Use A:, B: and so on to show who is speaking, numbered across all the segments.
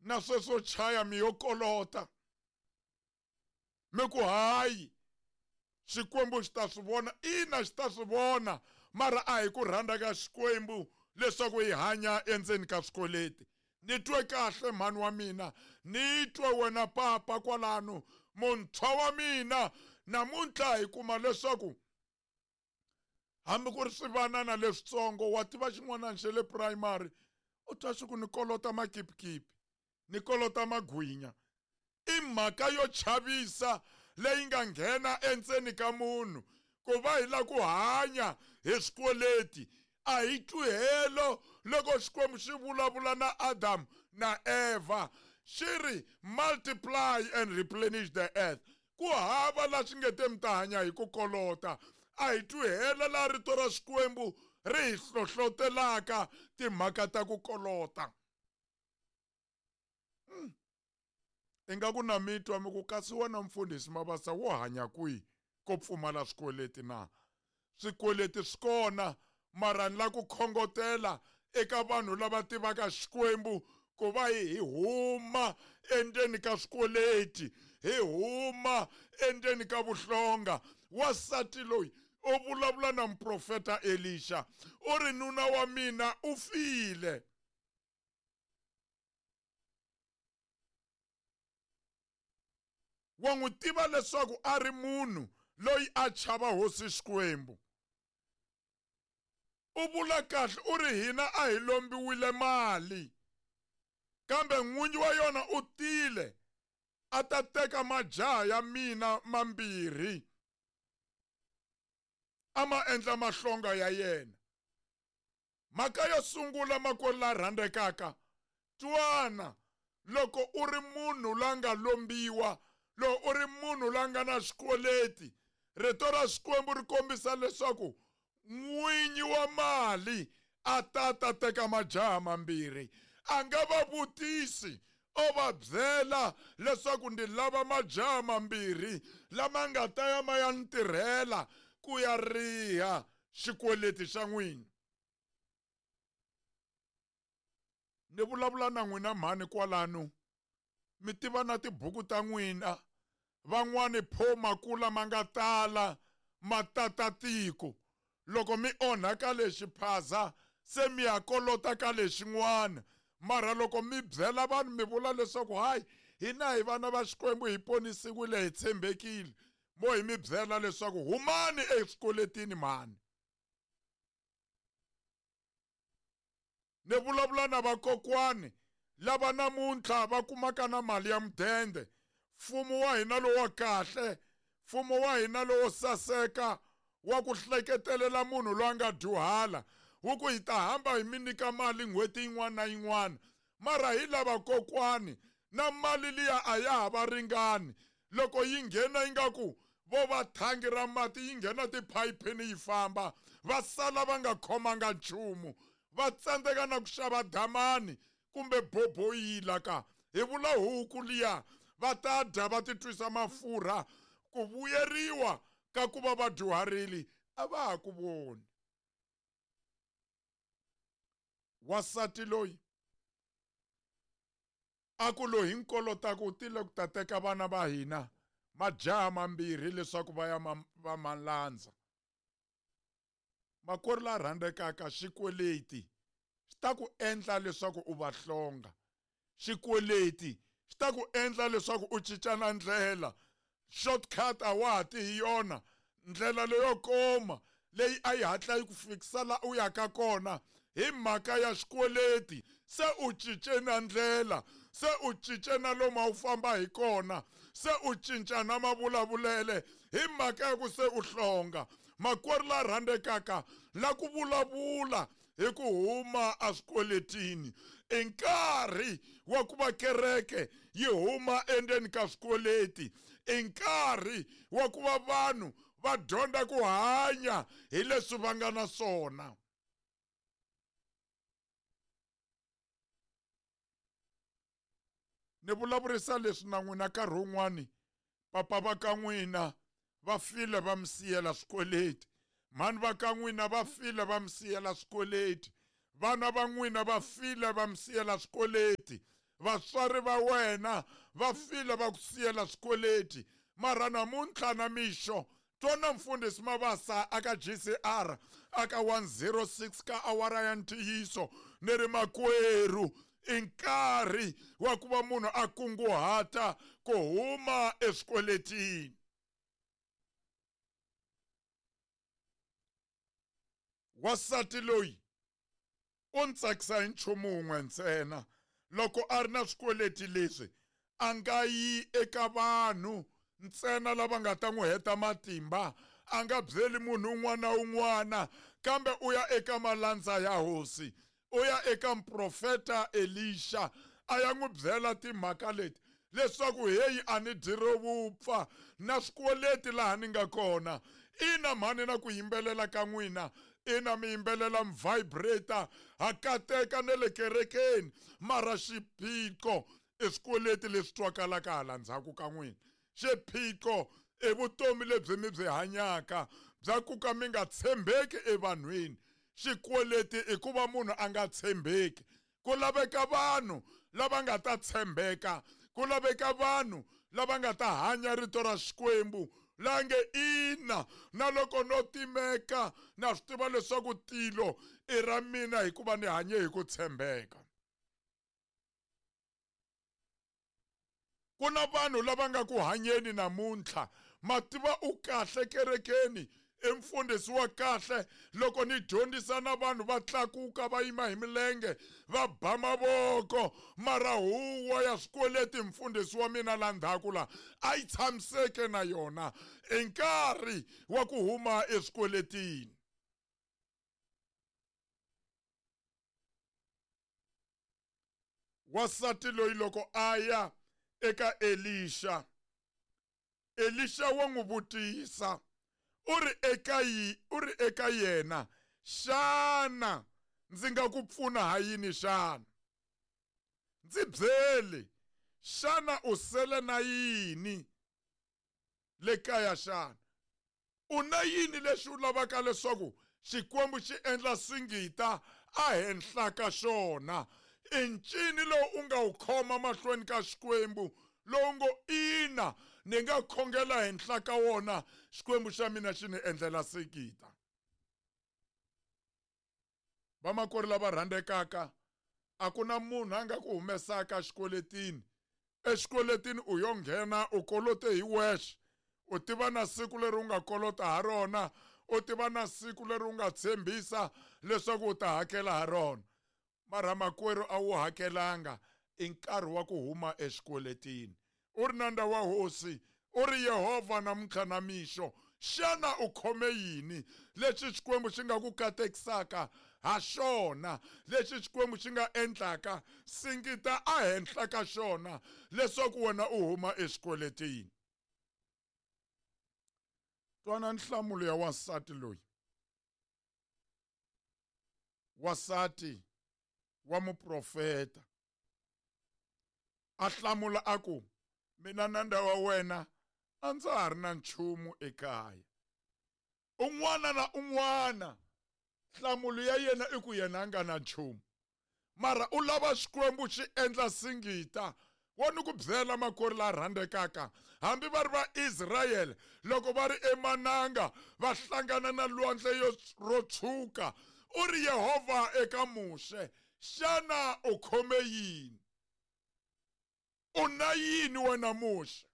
A: Na sweswo chaya mi yo kolota. Mi ku hayi Xikwembu xi ta swi vona, ina xi ta swi vona, mara a hi ku rhandza ka Xikwembu leswaku hi hanya endzeni ka swikweleti. Ni twe kahle mhani wa mina, ni twe wena papa kwalano, muntshwa wa mina, namuntlha hi kuma leswaku hambi ku ri swivanana leswitsongo wa tiva xin'wanana xa le primary u twa xi ku ni kolota makipikipi ni kolota magwinya i mhaka yo chavisa leyi nga nghena endzeni ka munhu ku va hi la ku hanya hi swikweleti a hi twi helo loko Xikwembu xi vulavula na Adamu na Evha xi ri multiply and replenish the earth ku hava la swi nge te mi ta hanya hi ku kolota a hi twi hela laha rito ra Xikwembu ri hi hlohlotelaka timhaka ta ku kolota hmm. Ingaku na mi twa mi ku kasi wena mfundhisi Mabasa wo hanya kwihi ko pfumala swikweleti na? Swikweleti swi kona mara ni la ku khongotela eka vanhu lava tivaka Xikwembu ku va hi huma endzeni ka swikweleti hi huma endzeni ka vuhlonga. Wansati loyi u vulavula na muprofeta Elixa u ri nuna wa mina u file. Wa n'wi tiva leswaku a ri munhu loyi a chava hosi Xikwembu. U vula kahle u ri hina a hi lombiwile mali kambe n'winyi wa yona u tile a ta teka majaha ya mina mambirhi a ma endla mahlonga ya yena. Mhaka yo sungula, makwerhu la rhandzekaka, twana, loko u ri munhu la nga lombiwa, loko u ri munhu la nga na xikweleti, Rito ra Xikwembu ri kombisa leswaku n'winyi wa mali a ta ta teka majaha mambirhi. A nga va vutisi, o va byela leswaku ndzi lava majaha mambirhi lama nga ta ya ma ya ni tirhela ku ya riha xikweleti xa n'wina. Ni vulavula na n'wina mhani kwalano, mi tiva na tibuku ta n'wina, van'wani pho makula ma nga tala ma tata tiko. Loko mi onha ka lexi phaza se mi ya kolota ka lexin'wana. Mara loko mi byela vanhu mi vula leswaku hayi hina hi vana va Xikwembu hi ponisiwile hi tshembekile, mo hi mi byela leswaku humani eswikweletini mhani. Ni vulavula na vakokwani lava namuntlha va kumaka na mali ya mudende. Mfumo wa hina lowa kahle, mfumo wa hina lowo saseka wa ku hleketelela munhu loyi a nga dyuhala wu ku hi ta hamba hi mi nyika mali n'hweti yin'wana na yin'wana mara hi lava kokwani na mali liya a ya ha va ringani loko yi nghena ingaku vo va thangi ra mati yi nghena tiphayiphini yi famba va sala va nga khomanga nchumu va tsandzeka na ku xava damani kumbe boboyila ka hi vula huku liya va ta dya va titwisa mafurha ku vuyeriwa ka ku va va dyuharile a va ha ku voni wasati loyi a ku loyi hi nkolotaka u tile ku ta teka vana va hina majaha mambirhi leswaku va ya va malandza makwerhu la rhandzekaka xikweleti xi ta ku endla leswaku u va hlonga xikweleti xi ta ku endla leswaku u cinca na ndlela shortcut a wa ha ti hi yona ndlela leyo koma leyi a yi hatla yi ku fikisa la u yaka kona hi mhaka ya xikweleti se u cince na ndlela se u cince na lomu a wu famba hi kona se u cinca na mavulavulele hi mhaka ya ku se u hlonga makwerhu la rhandzekaka la ku vulavula hi ku huma eswikweletini i nkarhi wa ku va kereke yi huma endzeni ka swikweleti i nkarhi wa ku va vanhu va dyondza ku hanya hi leswi va nga na swona ni vulavurisa leswi na n'wina nkarhi wun'wani papa va ka n'wina va file va mi siyela swikweleti mhani va ka n'wina va file va mi siyela swikweleti vana va n'wina va file va mi siyela swikweleti. Vatswari va wena va file va ku siyela swikweleti. Mara namuntlha na mixo twana mfundhisi Mabasa aka GCR aka 106 ka awara ya ntiyiso ni ri makwerhu i nkarhi wa ku va munhu a kunguhata ku huma eswikweletini. Wansati loyi u ni tsakisa hi nchumu wun'we ntsena loko a ri na swikweleti leswi a nga yi eka vanhu ntsena lava nga ta n'wi heta matimba a nga byeli munhu un'wana na un'wana kambe u ya eka malandza ya hosi u ya eka muprofeta Elisha a ya n'wi byela timhaka leti leswaku heyi a ni dyi ro vupfa na swikweleti laha ni nga kona ina mhani na ku yimbelela ka n'wina ina mi yimbelela mi vibrator ha kateka ne le kerekeni mara xiphiqo i swikweleti leswi twakalaka hala ndzhaku ka n'wina xiphiqo i vutomi lebyi mi byi hanyaka bya ku ka mi nga tshembeki evanhwini xikweleti i ku va munhu a nga tshembeki ku laveka vanhu lava nga ta tshembeka ku laveka vanhu lava nga ta hanya rito ra Xikwembu la nge ina na loko no timeka na swi tiva leswaku tilo i ra mina hikuva ni hanye hi ku tshembeka ku na vanhu lava nga ku hanyeni namuntlha mativa u kahle kerekeni i mfundhisi wa kahle loko ni dyondzisa na vanhu va tlakuka va yima hi milenge va ba mavoko mara huwa ya swikweleti mfundhisi wa mina la ndzhaku la a yi tshamiseke na yona i nkarhi wa ku huma eswikweletini Wansati loyi loko a ya eka Elixa, Elixa wa n'wi vutisa, u ri eka u ri eka yena, Xana ndzi nga ku pfuna ha yini xana? Ndzi byele, xana u sele na yini le kaya xana? U na yini lexi u lavaka leswaku Xikwembu xi endla singita ehenhla ka xona? I ncini lowu u nga wu khoma mahlweni ka Xikwembu lowu ngo ina ni nga khongela henhla ka wona Xikwembu xa mina xi ni endlela singita? Vamakwerhu lava rhandzekaka, a ku na munhu a nga ku humesaka exikweletini. Exikweletini u yo nghena u kolote hi wexe. U tiva na siku leri u nga kolota ha rona, u tiva na siku leri u nga tshembisa leswaku u ta hakela ha rona. Mara makwerhu a wu hakelanga, i nkarhi wa ku huma exikweletini. U ri nandza wa Hosi, u ri Yehovha namuntlha na mixo, xana u khome yini lexi Xikwembu xi nga ku katekisaka ha xona, lexi Xikwembu xi nga endlaka singita ehenhla ka xona leswaku wena u huma exikweletini? Twana nhlamulo ya wansati loyi. Wansati wa muprofeta a hlamula a ku mina nandza wa wena a ndza ha ri na nchumu ekaya un'wana na un'wana nhlamulo ya yena i ku yena a nga na nchumu mara u lava xikwembu xi endla singita wo ni ku byela makori la rhandzekaka hambi va ri va Israyele loko va ri emananga va hlangana na lwandle ro tshwuka u ri Yehovha eka Muxe xana u khome yini u na yini wena Muxe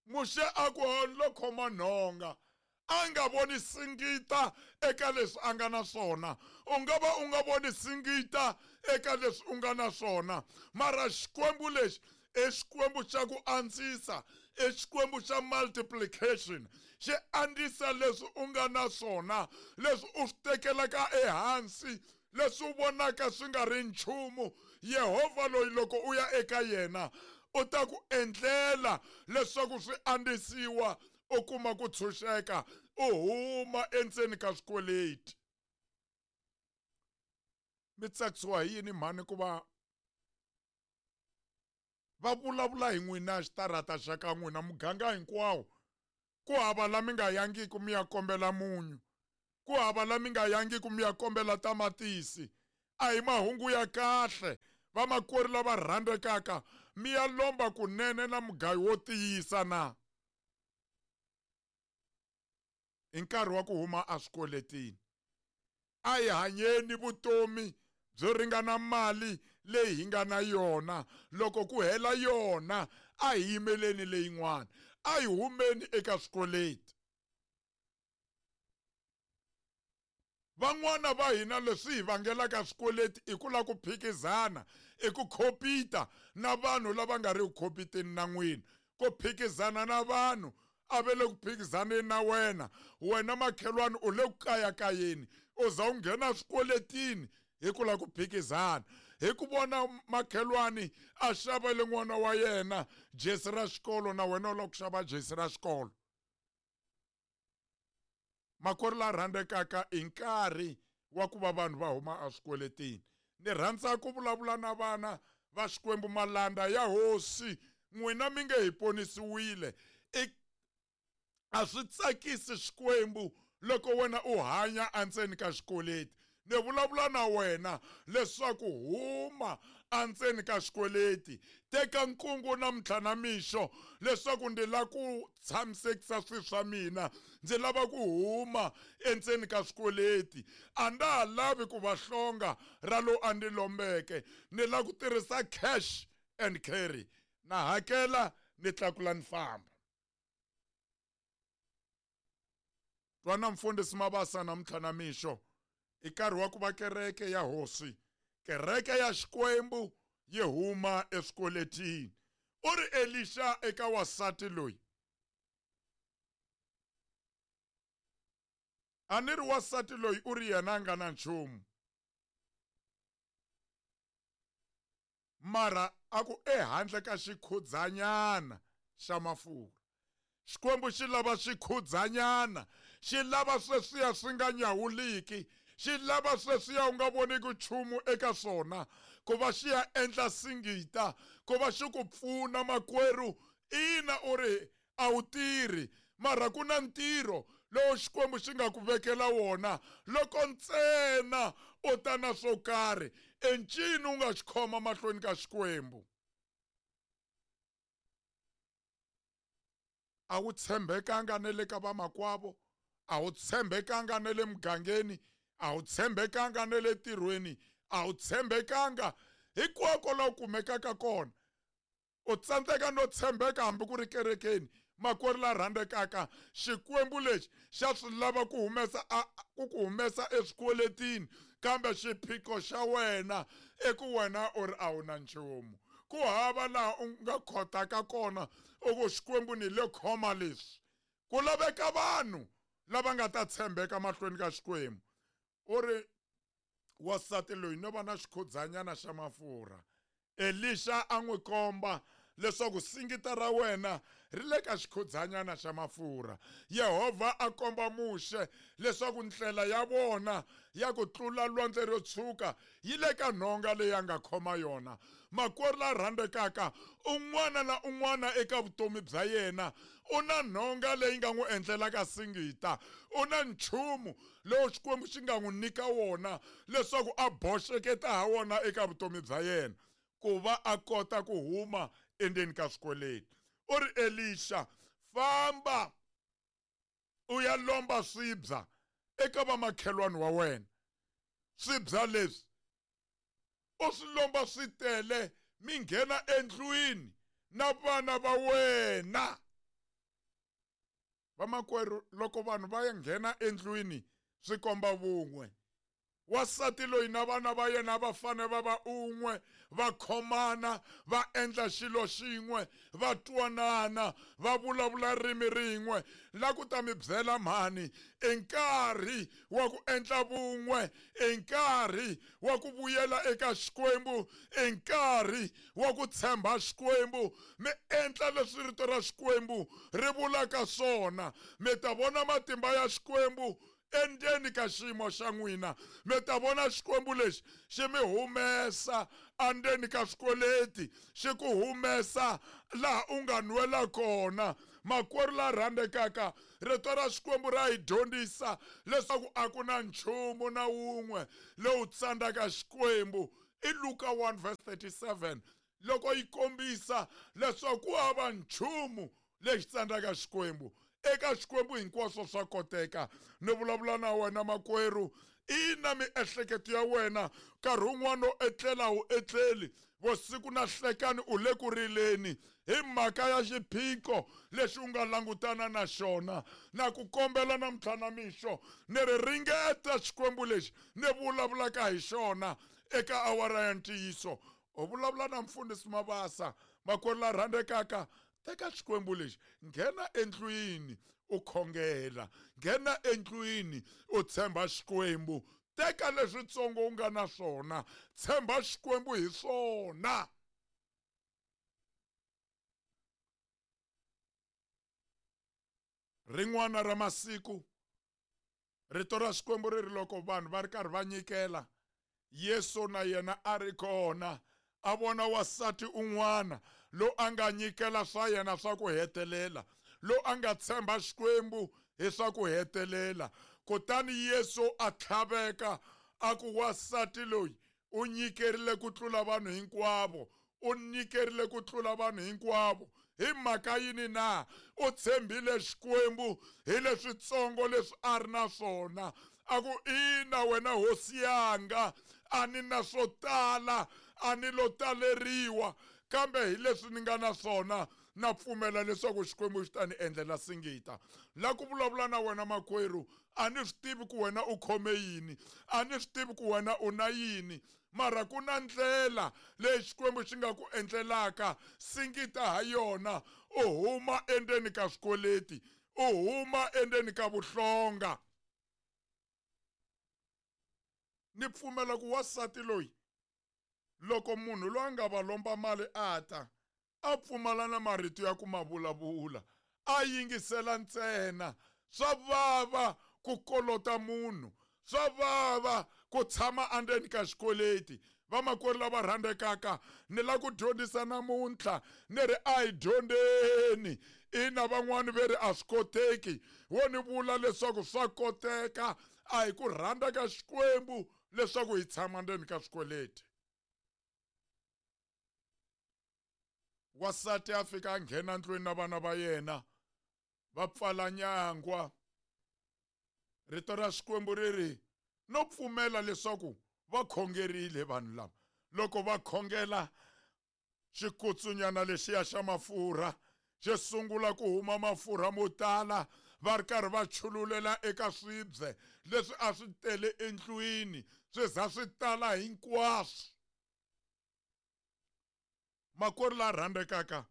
A: Muxe a ku lo khoma nhonga a nga voni singita eka leswi a nga na swona u nga va u nga voni singita eka leswi u nga na swona mara xikwembu lexi i xikwembu xa ku andzisa i xikwembu xa multiplication xi andzisa leswi u nga na swona leswi u swi tekelaka ehansi leswi u vonaka swi nga ri nchumu yehovha loyi loko u ya eka yena u ta ku endlela leswaku swi andzisiwa u kuma ku tshunxeka u huma endzeni ka swikweleti mi tsakisiwa hi yini mhani ku va va vulavula hi n'wina xitarata xa ka n'wina muganga hinkwawo ku hava la mi nga yangiki mi ya kombela munyu ku hava la mi nga yangiki mi ya kombela tamatisi a hi mahungu ya kahle. Vamakwerhu lava rhandzekaka, mi ya lomba kunene na mugayo wo tiyisa na? I nkarhi wa ku huma eswikweletini. A hi hanyeni vutomi byo ringana mali leyi hi nga na yona. Loko ku hela yona, a hi yimeleni leyin'wana. A hi humeni eka swikweleti. Van'wana va hina leswi hi vangelaka swikweleti i ku lava ku phikizana, i ku khopita na vanhu lava nga ri ku khopiteni na n'wina. Ku phikizana na vanhu a ve le ku phikizaneni na wena, wena makhelwani u le ku kayakayeni, u za u nghena swikweletini hi ku lava ku phikizana. Hi ku vona makhelwani a xavele n'wana wa yena jesi ra xikolo, na wena u lava ku xava jesi ra xikolo. Makwerhu la rhandzekaka, i nkarhi wa ku va vanhu va huma eswikweletini. Ni rhandza ku vulavula na vana va Xikwembu, malanda ya Hosi, n'wina mi nge hi ponisiwile. I a swi tsakisi Xikwembu loko wena u hanya endzeni ka xikweleti. Ni vulavula na wena leswaku huma endzeni ka xikweleti. Teka nkungu namuntlha na mixo leswaku ndzi lava ku tshamisekisa swilo swa mina. Ndzi lava ku huma endzeni ka swikweleti. A ndza ha lavi ku va hlonga ra lowu a ndzi lombeke. Ni lava ku tirhisa cash and carry. Na hakela ni tlakula ni famba. Twana mfundhisi Mabasa namuntlha na mixo, i nkarhi wa ku va kereke ya Hosi, kereke ya Xikwembu yi huma eswikweletini. U ri Elixa eka wansati loyi, a ni ri wansati loyi u ri yena a nga na nchumu, mara a ku ehandle ka xikhudzanyana xa mafurha. Xikwembu xi lava xikhudzanyana, xi lava sweswiya swi nga nyawuliki, xi lava sweswiya u nga voniki nchumu eka swona, ku va xi ya endla singita, ku va xi ku pfuna makwerhu. Ina, u ri a wu tirhi, mara ku na ntirho lowu Xikwembu xi nga ku vekela wona loko ntsena u ta na swo karhi. I ncini u nga xi khoma mahlweni ka Xikwembu? A wu tshembekanga na le ka vamakwavo, a wu tshembekanga na le mugangeni, a wu tshembekanga na le ntirhweni, a wu tshembekanga hinkwako laha u kumekaka kona. U tsandzeka no tshembeka hambi ku ri kerekeni. Makwerhu la rhandzekaka, Xikwembu lexi xa swi lava ku humesa a ku ku humesa eswikweletini, kambe xiphiqo xa wena i ku wena u ri a wu na nchumu. Ku hava laha u nga khotaka kona u ku Xikwembu ni le khoma leswi. Ku laveka vanhu lava nga ta tshembeka mahlweni ka Xikwembu. U ri wansati loyi no va na xikhudzanyana xa mafurha. Elixa a n'wi komba leswaku singita ra wena ri le ka xikhudzanyana xa mafurha. Yehovha a komba Muxe leswaku ndlela ya vona ya ku tlula Lwandle ro Tshwuka yi le ka nhonga leyi a nga khoma yona. Makwerhu la rhandzekaka, un'wana na un'wana eka vutomi bya yena u na nhonga leyi nga n'wi endlelaka singita. U na nchumu lowu Xikwembu xi nga n'wi nyika wona leswaku a boxeketa ha wona eka vutomi bya yena ku va a kota ku huma endzeni ka swikweleti. U ri, Elixa, famba u ya lomba swibya eka vamakhelwani wa wena. Swibya leswi u swi lomba swi tele, mi nghena endlwini na vana va wena. Vamakwerhu, loko vanhu va nghena endlwini swi komba vun'we. Wansati loyi na vana va yena va fanele va va un'we, va khomana, va endla xilo xin'we, va twanana, va vulavula ririmi rin'we. La ku ta mi byela mhani, i nkarhi wa ku endla vun'we, i nkarhi wa ku vuyela eka Xikwembu, i nkarhi wa ku tshemba Xikwembu. Mi endla leswi rito ra Xikwembu ri vulaka swona, mi ta vona matimba ya Xikwembu endzeni ka xiyimo xa n'wina. Mi ta vona Xikwembu lexi xi mi humesa endzeni ka swikweleti, xi ku humesa laha u nga nwela kona. Makwerhu la rhandzekaka, rito ra Xikwembu ra hi dyondzisa leswaku a ku na nchumu na wun'we lowu tsandzaka Xikwembu. I Luka 1 verse 37 loko yi kombisa leswaku ku hava nchumu lexi tsandzaka Xikwembu. Eka Xikwembu hinkwaswo swa koteka. Ni vulavula na wena makwerhu, ina miehleketo ya wena nkarhi wun'wana u etlela u etleli, vusiku na hlekani u le ku rileni hi mhaka ya xiphiqo lexi u nga langutana na xona. Na ku kombela namuntlha na mixo ni ri ringeta Xikwembu lexi ni vulavulaka hi xona eka awara ya ntiyiso. U vulavula na mfundhisi Mabasa, makwerhu la rhandzekaka, teka Xikwembu lexi, nghena endlwini u khongela, nghena endlwini u tshemba Xikwembu, teka leswitsongo u nga na swona, tshemba Xikwembu hi swona. Rin'wana ra masiku rito ra Xikwembu ri ri loko vanhu va ri karhi va nyikela, Yesu na yena a ri kona, a vona wasati un'wana lo a nga nyikela swa yena swa ku hetelela, lo a nga tshemba Xikwembu hi swa ku hetelela. Kutani Yesu a tlhaveka a ku, wasati loyi u nyikerile ku tlula vanhu hinkwavo, u nyikerile ku tlula vanhu hinkwavo. Hi mhaka yini na? U tshembile Xikwembu hi leswitsongo leswi a ri na swona. A ku, ina wena hosi yanga, a ni na swo tala, a ni lo taleriwa, kambe hi leswi ni nga na swona na pfumela leswaku Xikwembu xi ta ni endlela singita. La ku vulavula na wena makwerhu, a ni swi tivi ku wena u khome yini, a ni swi tivi ku wena u na yini, mara ku na ndlela leyi Xikwembu xi nga ku endlelaka singita ha yona, u huma endzeni ka swikweleti, u huma endzeni ka vuhlonga. Ni pfumela ku wasati loyi loko munhu loyi a nga va lomba mali a ta, a pfumala na marito ya ku ma vulavula, a yingisela ntsena. Swa vava ku kolota munhu, swa vava ku tshama endzeni ka xikweleti. Vamakwerhu lava rhandzekaka, ni la ku dyondzisa namuntlha ni ri a hi dyondzeni. Ina van'wani ve ri a swi koteki, wo ni vula leswaku swa koteka. A hi ku rhandza ka Xikwembu leswaku hi tshama ndzeni ka swikweleti. Wasati a fika a nghena ndlwini na vana va yena, va pfala nyangwa. Rito ra Xikwembu ri ri no pfumela leswaku va khongerile vanhu lava. Loko va khongela, xikutsunyana lexiya xa mafurha xi sungula ku huma mafurha mo tala, va ri karhi va chululela eka swibye leswi a swi tele endlwini, swi za swi tala hinkwaswo. Makwerhu la rhandzekaka,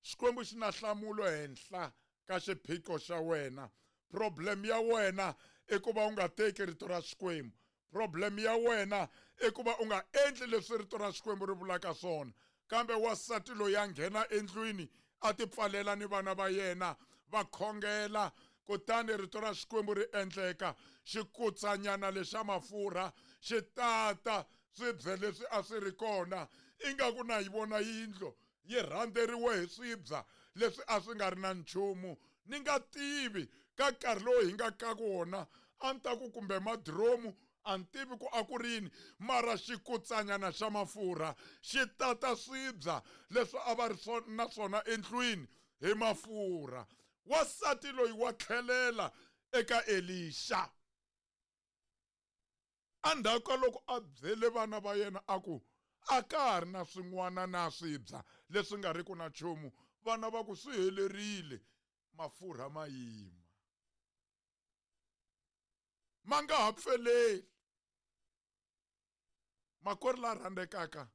A: Xikwembu xi na nhlamulo henhla ka xiphiqo xa wena. Problem ya wena i ku va u nga teki rito ra Xikwembu. Problem ya wena i ku va u nga endli leswi rito ra Xikwembu ri vulaka swona. Kambe wasati loyi a nghena endlwini a tipfalela ni vana va yena, va khongela, kutani rito ra Xikwembu ri endleka. Xikutsanyana lexa mafurha xi tata swibye leswi a swi ri kona, ingaku na yi vona yindlu yi rhandzeriwe hi swibya leswi a swi nga ri na nchumu. Ni nga tivi ka nkarhi lowu hi nga ka wona, a ni ta ku kumbe madromu, a ni tivi ku a ku ri yini, mara xikutsanyana xa mafurha xi tata swibya leswi a va ri na swona endlwini hi mafurha. Wasati loyi wa tlhelela eka Elixa. Endzhaku ka loko a byele vana va yena a ku, a ka ha ri na swin'wana na swibya leswi nga riki na nchumu, vana va ku swi helerile, mafurha ma yima, ma nga ha pfeleli. Makwerhu la rhandzekaka,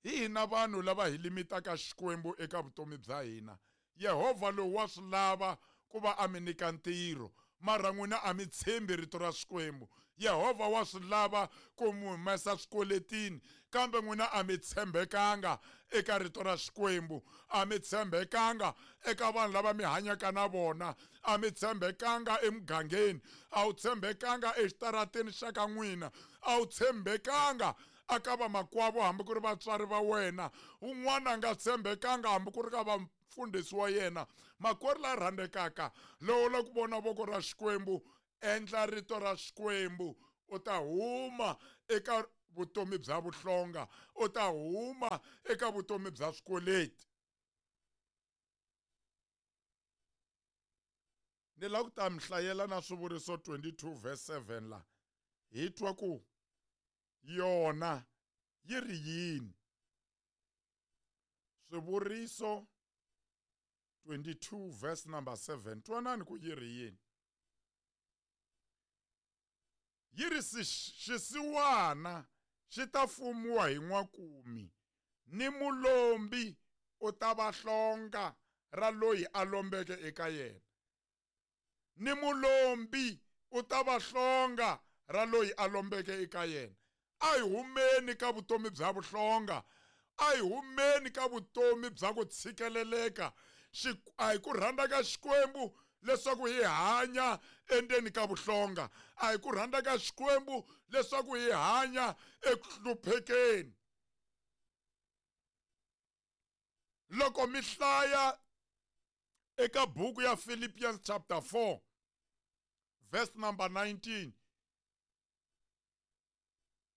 A: hi hina vanhu lava hi limitaka Xikwembu eka vutomi bya hina. Yehovha lowu wa swi lava ku va a mi nyika ntirho, mara n'wina a mi tshembi rito ra Xikwembu. Yehovha wa swi lava ku mi humesa swikweletini, kambe n'wina a mi tshembekanga eka rito ra Xikwembu. A mi tshembekanga eka vanhu lava mi hanyaka na vona. A mi tshembekanga emugangeni. A wu tshembekanga exitarateni xa ka n'wina. A wu tshembekanga aka vamakwavo hambi ku ri vatswari va wena. Un'wana a nga tshembekanga hambi ku ri ka vamfundhisi wa yena. Makwerhu la rhandzekaka, lowo la ku vona voko ra Xikwembu, endla rito ra Xikwembu, u ta huma eka vutomi bya vuhlonga, u ta huma eka vutomi bya swikweleti. Ni lava ku ta mi hlayela na Swivuriso 22 verse 7 la hi twa ku yona yi ri yini. Swivuriso 22 verse number 7, twanani ku yi ri yini. Yi ri xisiwana xi ta fumiwa hi n'wakumi, ni mulombi u ta va hlonga ra loyi a lombeke eka yena. Ni mulombi u ta va hlonga ra loyi a lombeke eka yena. A hi humeni ka vutomi bya vuhlonga, a hi humeni ka vutomi bya ku tshikeleleka. A hi ku rhandza ka Xikwembu leswaku hi hanya endzeni ka vuhlonga, a hi ku rhandza ka Xikwembu leswaku hi hanya eku hluphekeni. Loko mi hlaya eka buku ya Philippians chapter 4 verse number 19,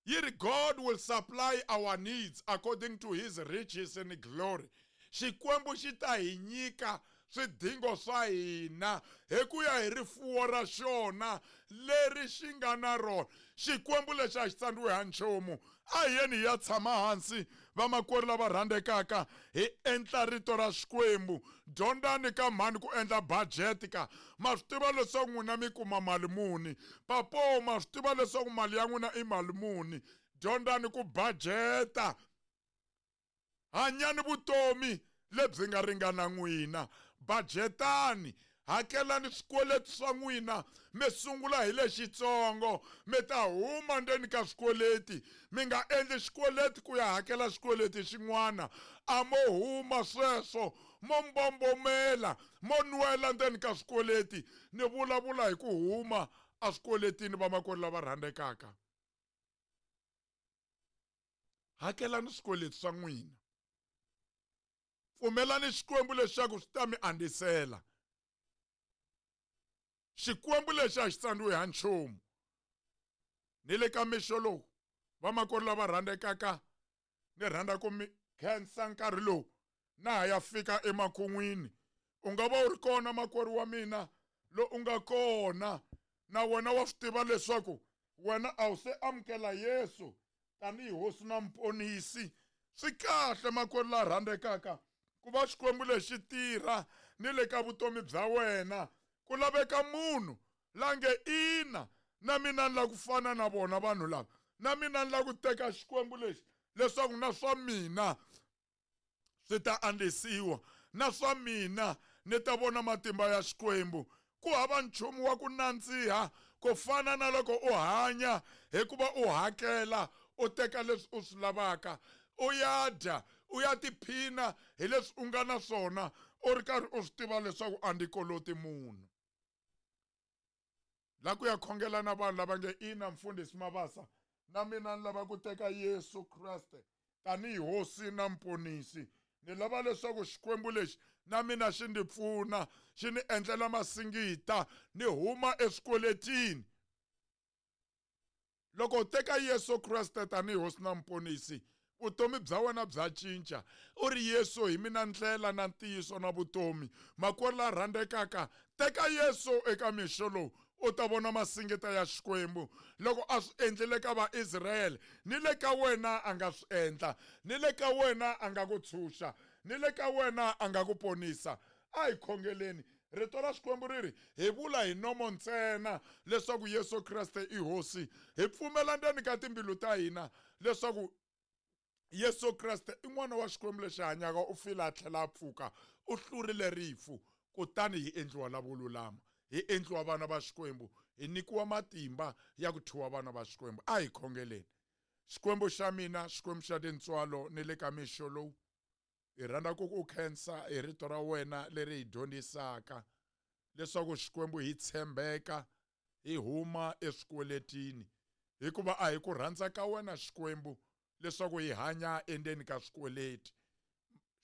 A: yi ri God will supply our needs according to his riches and glory. Xikwembu xi ta hi nyika swidingo swa hina hi ku ya hi rifuwo ra xona leri xi nga na rona. Xikwembu lexi a xi tsandziwi ha nchumu. A hi yeni hi ya tshama hansi, vamakwerhu lava rhandzekaka, hi endla rito ra Xikwembu. Dyondzani ka mhani ku endla budget ka. Ma swi tiva leswaku n'wina mi kuma mali muni. Papo, ma swi tiva leswaku mali ya n'wina i mali muni. Dyondzani ku budgeta. Hanyani vutomi lebyi nga ringana n'wina. Budgetani, hakelani swikweleti swa n'wina, mi sungula hi lexitsongo, mi ta huma ndzeni ka swikweleti. Mi nga endli xikweleti ku ya hakela xikweleti xin'wana. A mo huma sweswo, mo mbombomela, mo nwela ndzeni ka swikweleti. Ni vulavula hi ku huma eswikweletini, vamakwerhu lava rhandzekaka. Hakelani swikweleti swa n'wina. Pfumelani Xikwembu leswaku swi ta mi andzisela. Xikwembu lexi a xi tsandziwi ha nchumu. Ni le ka mixo lowu, vamakwerhu lava rhandzekaka, ni rhandza ku mi khensa nkarhi lowu na ha ya fika emakun'wini. U nga va u ri kona makwerhu wa mina lo u nga kona, na wena wa swi tiva leswaku wena a wu se amukela Yesu tanihi Hosi na Muponisi. Swi kahle makwerhu la rhandzekaka ku va Xikwembu lexi tirha ni le ka vutomi bya wena. Ku laveka munhu la nge ina, na mina ni lava ku fana na vona vanhu lava, na mina ni lava ku teka Xikwembu lexi leswaku na swa mina swi ta andzisiwa, na swa mina ni ta vona matimba ya Xikwembu. Ku hava nchumu wa ku nandziha ku fana na loko u hanya hikuva u hakela, u teka leswi u swi lavaka, u ya dya, u ya tiphina hi leswi u nga na swona, u ri karhi u swi tiva leswaku a ndzi koloti munhu. La ku ya khongela na vanhu lava nge ina, Mfundhisi Mabasa, na mina ni lava ku teka Yesu Kreste tanihi Hosi na Muponisi. Ni lava leswaku Xikwembu lexi na mina xi ndzi pfuna, xi ni endlela masingita, ni huma eswikweletini. Loko u teka Yesu Kreste tanihi Hosi na Muponisi, vutomi bya wena bya cinca. U ri, Yesu hi mina ndlela na ntiyiso na vutomi. Makwerhu la rhandzekaka, teka Yesu eka mixo lowu, u ta vona masingita ya Xikwembu. Loko a swi endlile ka Vaisrayele, ni le ka wena a nga swi endla. Ni le ka wena a nga ku tshunxa. Ni le ka wena a nga ku ponisa. A hi khongeleni. Rito ra Xikwembu ri ri, hi vula hi nomo ntsena leswaku Yesu Kreste i Hosi. Hi pfumela ndzeni ka timbilu ta hina leswaku Yesu Kreste i N'wana wa Xikwembu lexi hanyaka, u file a tlhela a pfuka, u hlurile rifu, kutani hi endliwa lavo lulama, hi endliwa vana va Xikwembu, hi nyikiwa matimba ya ku thyiwa vana va Xikwembu. A hi khongeleni. Xikwembu xa mina, Xikwembu xa tintswalo, ni le ka mixo lowu, hi rhandza ku ku khensa hi rito ra wena leri hi dyondzisaka leswaku Xikwembu hi tshembeka, hi huma eswikweletini, hikuva a hi ku rhandza ka wena Xikwembu leswaku hi hanya endzeni ka swikweleti.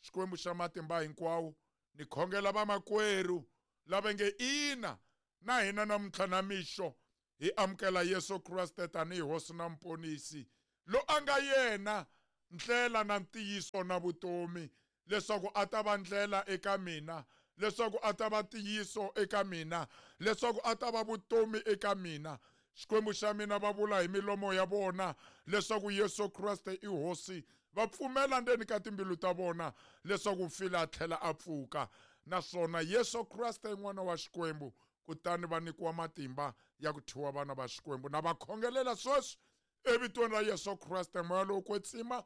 A: Xikwembu xa matimba hinkwawo, ni khongela vamakwerhu lava nge ina, na hina namuntlha na mixo hi amukela Yesu Kreste tanihi Hosi na Muponisi. Lo a nga yena ndlela na ntiyiso na vutomi, leswaku a ta va ndlela eka mina, leswaku a ta va ntiyiso eka mina, leswaku a ta va vutomi eka mina. Xikwembu xa mina va vula hi milomo ya vona leswaku Yesu Kreste i Hosi, va pfumela ndzeni ka timbilu ta vona leswaku u file a tlhela a pfuka, naswona Yesu Kreste i N'wana wa Xikwembu, kutani va nyikiwa matimba ya ku thyiwa vana va Xikwembu. Na va khongelela sweswi evitweni ra Yesu Kreste, Moya lowo Kwetsima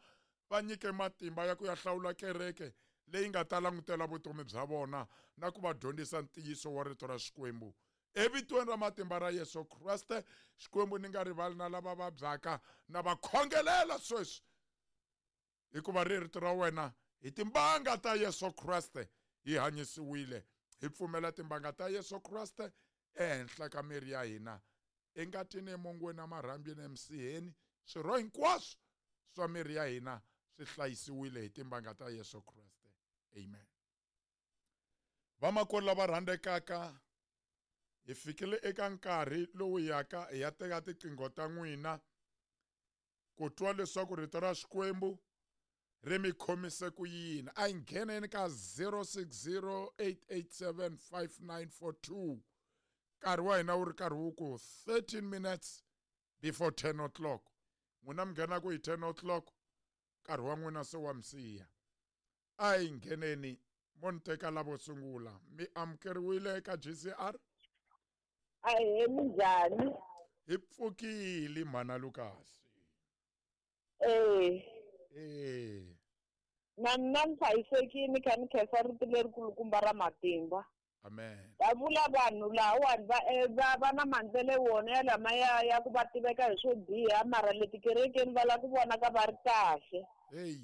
A: va nyike matimba ya ku ya hlawula kereke leyi nga ta langutela vutomi bya vona na ku va dyondzisa ntiyiso wa rito ra Xikwembu. Evitweni ra matimba ra Yesu Kreste, Xikwembu ni nga rivali na lava vabyaka, na va khongelela sweswi, hikuva ri rito ra wena hi timbanga ta Yesu Kreste hi hanyisiwile. Hi pfumela timbanga ta Yesu Kreste ehenhla ka miri ya hina, engatini, emongweni, emarhambini, emisiheni, swirho hinkwaswo swa miri ya hina swi hlayisiwile hi timbanga ta Yesu Kreste. Amen. Vamakwerhu lava rhandzekaka, hi fikile eka nkarhi lowu yaka hi ya teka tiqingho ta n'wina ku twa leswaku rito ra Xikwembu ri mi khomise ku yini. A hi ngheneni ka 0608875942. Nkarhi wa hina wu ri karhi wu ku 13 minutes before 10 o'clock. N'wina mi nghenaku hi 10 o'clock, nkarhi wa n'wina se wa mi siya. A hi ngheneni, mo ni teka lavo sungula. Mi amukeriwile eka GCR?
B: Ahee, minjhani?
A: Hi pfukile mhana Lucas.
B: Eh.
A: Eh.
B: Na mina ni hlayisekile, kha ni khensa rito lerikulukumba ra matimba.
A: Amen.
B: Va vula vanhu lahawani va na mandlele wona ya lama ya ku va tiveka hi swo biha, mara le tikerekeni va lava ku vonaka va ri kahle.
A: Hey.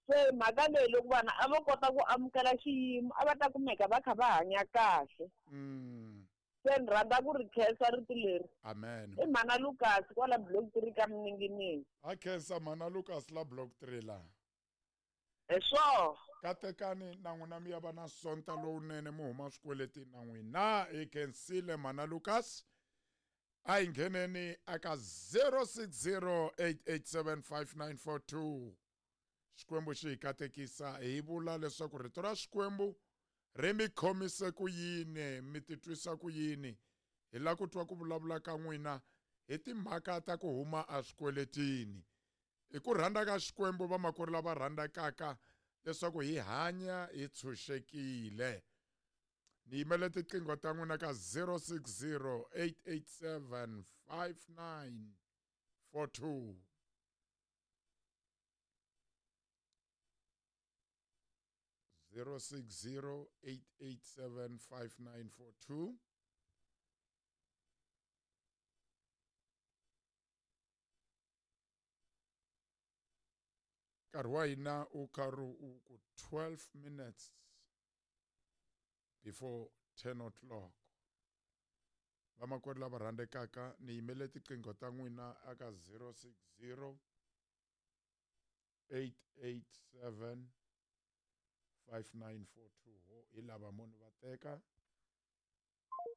B: Se mhaka leyi loko vanhu a vo kota ku amukela xiyimo, a va ta kumeka va kha va hanya kahle. Se ni rhandza ku ri khensa rito leri.
A: Amen.
B: I mhana Lucas kwala block 3 ka Mninginingi.
A: A khensa mhana Lucas la block 3 la.
B: Hi swona.
A: Katekani na n'wina mi ya va na sonta lowunene, mi huma swikweletini na n'wina. Hi khensile mhana Lucas. A hi ngheneni aka 0608875942. Xikwembu xi hi katekisa, hi vula leswaku rito ra Xikwembu ri mi khomise ku yini, mi titwisa ku yini. Hi lava ku twa ku vulavula ka n'wina hi timhaka ta ku huma eswikweletini. Hi ku rhandza ka Xikwembu, vamakwerhu lava rhandzekaka, leswaku hi hanya hi tshunxekile. Ni yimele tiqingho ta n'wina ka 0608875942. 0608875942. Nkarhi wa hina wu karhi wu ku 12 minutes before 10 o'clock. Vamakwerhu lava rhandzekaka, ni yimele tiqingho ta n'wina aka 0608875942. Ho hi lava munhu va teka.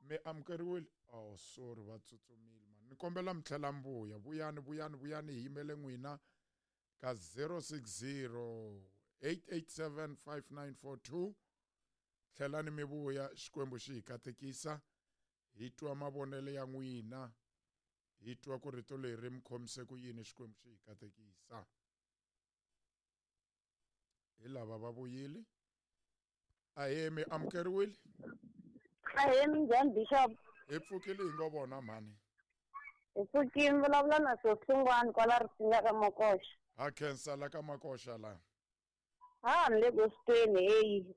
A: Mi amukeriwile? Oh, sorry, va tsutsumile man. Ni kombela mi tlhela mi vuya. Vuyani, vuyani, vuyani, hi yimele n'wina ka 0608875942. Tlhelani mi vuya, Xikwembu xi hi katekisa. Hi twa mavonelo ya n'wina, hi twa ku rito leri mi khomise ku yini, Xikwembu xi hi katekisa. Hi lava va vuyile. Ahee, mi amukeriwile?
C: Ahee, minjhani Bishop?
A: Hi pfukile hi ngo vona mhani.
C: Hi pfukile, mi vulavula na Sohlungwani kwala Risinga ka Makoxa.
A: Ha khensa la ka Makoxa la.
C: Ha ni le gospeleni heyi.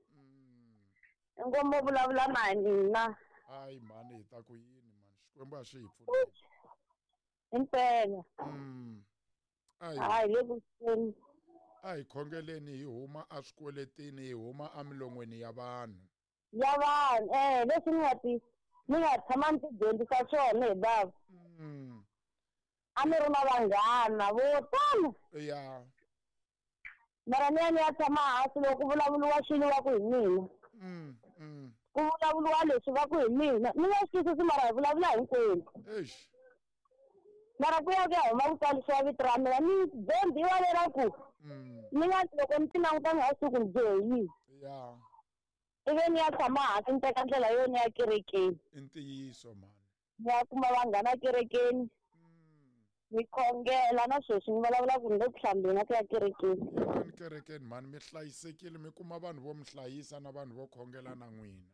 C: Inkomu vulavula na hina.
A: Hayi mhani, hi ta ku yini mhani, Xikwembu a xi hi pfuni.
C: Impela. Hayi le gospeleni.
A: A hi khongeleni hi huma eswikweletini, hi huma emilon'weni ya vanhu.
C: Ya vanhu, leswi ni nga tshama ni ti dyondzisa swona hi bava. A ni ri na vanghana vo tala.
A: Ya.
C: Mara ni ya ni ya tshama hansi loko ku vulavuriwa swilo va ku hi mina. Ku vulavuriwa leswi va ku hi mina. Ni nga swi twisisi mara hi vulavula hinkwenu.
A: Eish.
C: Mara ku ya ku ya huma ku tsarisiwa vito ra mina ni dyondziwa leraku ni nga loko ni ti languta ni nga swi ku ni dyohe yini.
A: Ya.
C: Ivi ni ya tshama hansi ni teka ndlela yo ni ya kerekeni.
A: I ntiyiso mhani.
C: Ni ya kuma vanghana kerekeni. Ni khongela na sweswi ni vulavula ku ni le ku hlambeni na ku ya kerekeni.
A: Yanani kerekeni mhani, mi hlayisekile, mi kuma vanhu vo mi hlayisa na vanhu vo khongela na n'wina.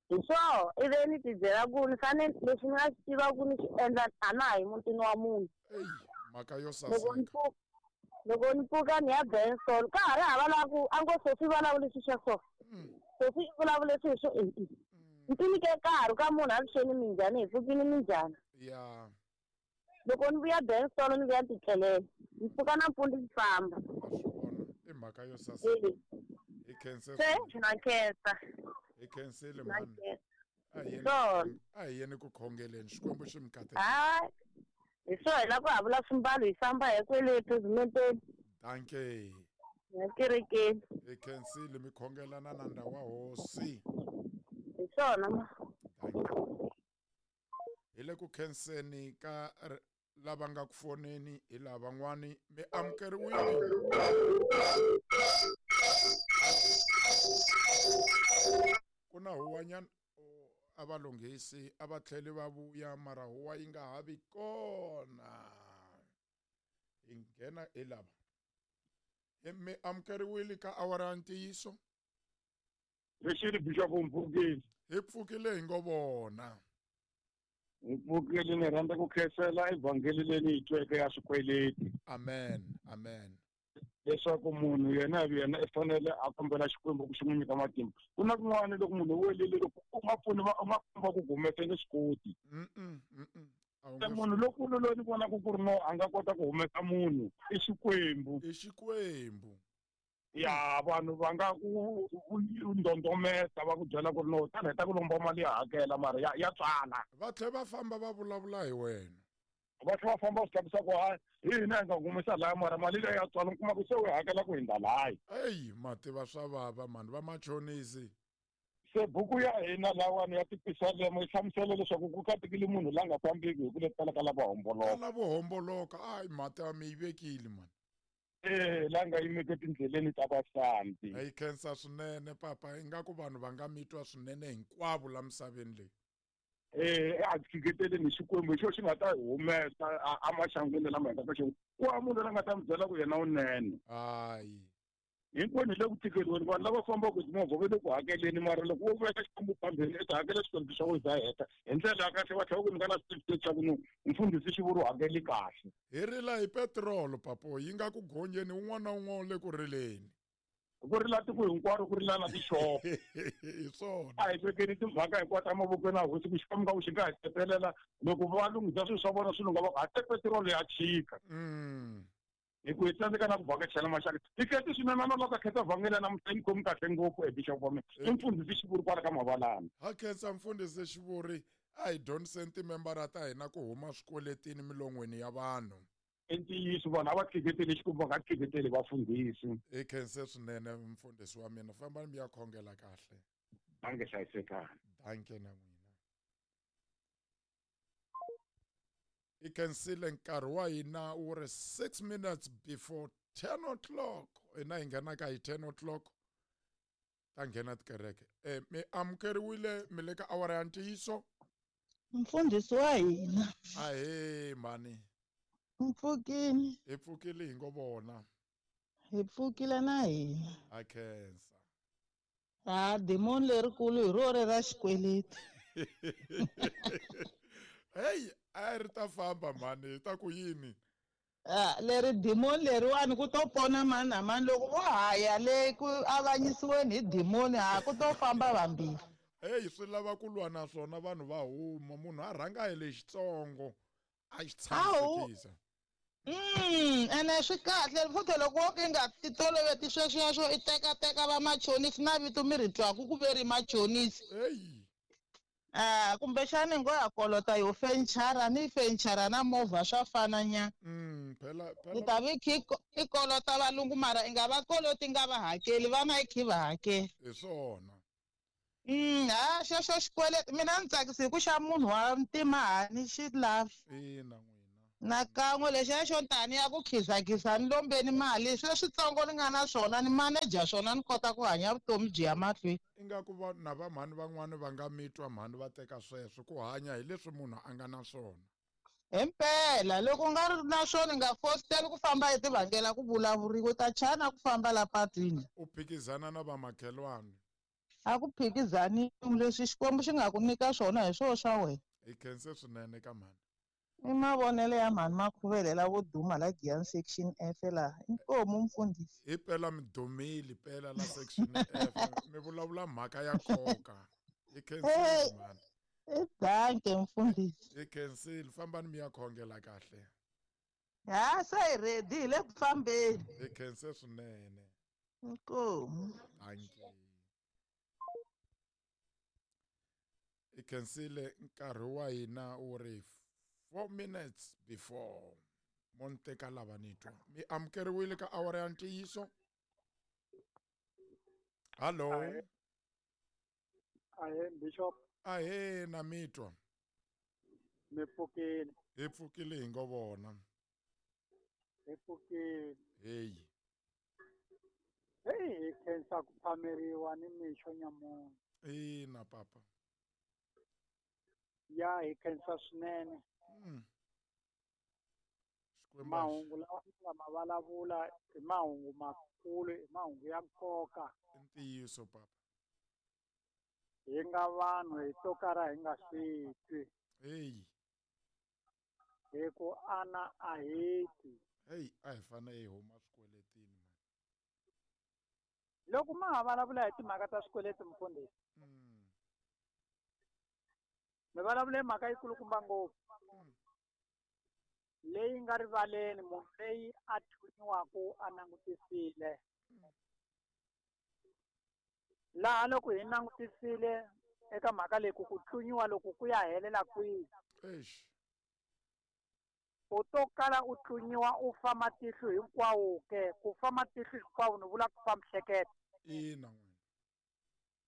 C: Hi swoho, ivi ni ti byela ku ni fanele leswi ni nga swi tiva ku ni swi endla a na ha yi mutini wa munhu.
A: Eyi, mhaka yo saseka.
C: Loko ni pfuka ni ya Benson, ka ha ri hava laha ku a ngo Sophie vulavule swilo swa so. Sophie i vulavule swilo swo e-e. Ni ti nyike nkarhi ka munhu a vuxeni minjhani, hi pfukile minjhani.
A: Ya.
C: Loko ni vuya Benson ni vuya ni titlelela. Ni pfuka nampundzu ni famba.
A: Wa swi vona, i mhaka yo saseka. Hi khense.
C: Se na khensa.
A: Hi khensile
C: Na
A: mhani.
C: khensa.
A: A hi yeni
C: Swona.
A: a hi yeni ku khongeleni, Xikwembu xi mi katekisa.
C: Hayi. Hi swona hi lava ku havula swimbalo hi famba hi kwele phezimenteni.
A: Dankie.
C: Ya kerekeni.
A: Hi khensile mi khongelana na nda wa hosi.
C: Hi swona ma.
A: Dankie. Hi le ku khenseni ka lava nga ku foneni hi lavan'wani mi amukeriwile. Ku na huwanyana a va lunghisi a va tlheli va vuya mara huwa yi nga ha vi kona. Hi nghena hi lava. Mi amukeriwile ka awara ya ntiyiso?
D: Lexi Bishop Mpfukile.
A: Hi pfukile hi ngo vona.
D: Hi pfukile, ni rhandza ku khensela evhangeli leyi ni yi tweke ya swikweleti.
A: Amen, amen.
D: Leswaku munhu yena hi yena i fanele a kombela Xikwembu ku xi n'wi nyika matimba. Ku na kun'wana loko munhu u welile loko u nga pfuni va u nga komba ku humesa nge swi koti.
A: A wu
D: Se
A: nge
D: munhu lonkulu loyi ni vonaka ku ri no a nga kota ku humesa munhu i Xikwembu.
A: I Xikwembu.
D: Ya vanhu va nga ku ndondometa va ku byela ku ri no tani heta ku lomba mali ya hakela mara ya tswala.
A: Va tlhela va famba va vulavula hi wena.
D: Va tlhela va famba va swi tlakusa ku hayi hi hina hi nga humesa laya mara mali leyi ya tswala u kuma ku se u hakela ku hundza laya.
A: Eyi mativa swa vava mani va machonisi.
D: Se buku ya hina lawani ya tipisalema yi hlamusela leswaku ku katekile munhu la nga fambiki hi ku letela ka lavo homboloka.
A: Ka lavo homboloka, ayi mhaka mi yi vekile mani.
D: La nga yimeke tindleleni ta vasandzi.
A: Hi khensa swinene papa, ingaku vanhu va nga mi twa swinene hinkwavo la misaveni leyi.
D: A tshiketeleni hi Xikwembu hi xo xi nga ta hi humesa emaxangwini lama hi nga ka xona. Ku hava munhu la nga ta mi byela ku yena unene.
A: Hayi.
D: Hinkwenu hi le ku tikeriweni, vanhu lava fambaka hi timovha va le ku hakeleni, mara loko wo veka Xikwembu phambili i ta hakela swikweleti swa wena za heta hi ndlela ya kahle, va tlhela va ku nyika na certificate xa ku no mfundhisi xi vuri u hakeli kahle.
A: Hi rila hi petirolo papo, yi nga ku gonyeni un'wana na un'wana u le ku rileni.
D: Ku rila tiko hinkwaro, ku rila na tixopo.
A: Hi swona.
D: A hi vekeni timhaka hinkwato emavokweni ya hosi, ku Xikwembu nga ku xi nga hi tetelela loko va lunghisa swilo swa vona swi lungha, va ku ha te petirolo ya chika. Hi ku hi tsandzeka na ku vhakachela maxaka. Hi khensa swinene na loko a khensa vhangeli namuntlha yi khomi kahle ngopfu e Bishop wa mina. I mfundhisi Xivuri kwala ka Mavalani.
A: Ha khensa mfundhisi Xivuri, a hi dyondziseni timembara ta hina ku huma swikweletini milon'weni ya vanhu.
D: I ntiyiso, vanhu a va kheketeli Xikwembu, va nga kheketeli vafundhisi.
A: Hi khense swinene mfundhisi wa mina, fambani mi ya khongela kahle.
D: Danke hlayisekani.
A: Danke na n'wina. I khensile nkarhi wa hina wu ri 6 minutes before 10 o'clock. Hina hi nghena ka hi 10 o'clock ta nghena tikereke. Mi amukeriwile mi le ka awara ya ntiyiso.
E: Mfundhisi wa hina.
A: Ahee mhani.
E: Mpfukile.
A: Hi pfukile hi ngo vona.
E: Hi pfukile na hina.
A: Ha khensa.
E: Ha demon lerikulu hi ro ra xikweleti.
A: Hey, a ri ta famba mhani, hi ta ku yini?
E: Leri demon leriwani ku to pona mani na mani loko vo haya le ku avanyisiweni hi demon ha ku to famba vambirhi.
A: Hey, swi lava ku lwa na swona vanhu va huma, munhu a rhanga hi lexitsongo a xi tshamisekisa.
E: Ene swi kahle futhi loko wo ka i nga titoloveti swesweswo i tekateka va machonisi na vito mi ri twaku ku ve ri machonisi.
A: Hey.
E: Kumbexani ngo ya kolota yo fenichara ni fenichara na movha swa fana nya.
A: Phela
E: Ni ta vi khi i kolota valungu mara i nga va koloti nga va hakeli vana i khi va hakeli.
A: Hi swona.
E: Ha xexo xikweleti mina ni tsakisi hi ku xa munhu wa ntima ha ni xi lavi.
A: Ina n'wina.
E: Nakan'we lexiya xo tani ya ku khizakhiza ni lombeni mali sweswitsongo ni nga na swona ni maneja swona ni kota ku hanya vutomi byi ya mahlweni.
A: Ingaku va na va mhani van'wani va nga mi twa mhani va teka sweswo ku hanya hi leswi munhu a nga na swona.
E: Himpela loko u nga ri na swona nga fositeli ku famba hi tivangela ku vulavuriwa u ta chana ku famba la patwini.
A: U phikizana na vamakhelwani.
E: A ku phikizaniwi leswi Xikwembu xi nga ku nyika swona hi swoho swa wena.
A: Hi khense swinene ka mhani.
E: I mavonelo ya mhani Makhuvele lavo duma la Giyani section F laha. Inkomu mfundhisi.
A: Hi pela mi dumile pela la section F. Mi vulavula mhaka ya nkoka. Hi khensile mhani.
E: Danke mfundhisi.
A: Hi khensile fambani mi ya khongela kahle.
E: Ha se hi ready hi le ku fambeni.
A: Hi khense swinene.
E: Inkomu.
A: Danke. Hi khensile nkarhi wa hina wu ri 4 minutes before mo ni teka lava ni twa mi amukeriwile ka awara ya ntiyiso. Hallo.
D: Ahe bishop.
A: Ahe na mi twa.
D: Mi pfukile.
A: Hi pfukile hi ngo vona.
D: Hi pfukile.
A: Hey.
D: Hey, hi khensa ku phameriwa ni mixo nyamuntlha.
A: Ina papa.
D: Ya hi khensa swinene. Mahungu lawa mi nga ma vulavula i mahungu makulu, i mahungu ya nkoka.
A: Ntiyiso papa.
D: Hi nga vanhu hi to kara hi nga swi twi.
A: Hey.
D: Hi ku ana a heti.
A: Hey, a hi fanele hi huma swikweletini man.
D: Loko ma ha vulavula hi timhaka ta swikweleti mfundhisi. Mi vulavule mhaka yikulukumba ngopfu. Leyi nga rivaleni munhu leyi a thunyiwaka a langutisile. Laha loko hi langutisile eka mhaka leyi ku tlunyiwa loko ku ya helela kwihi.
A: Eish.
D: U to kala u tlunyiwa u fa matihlo hinkwawo ke, ku fa matihlo hinkwawo ni vula ku fa mihleketo.
A: Ina n'wina.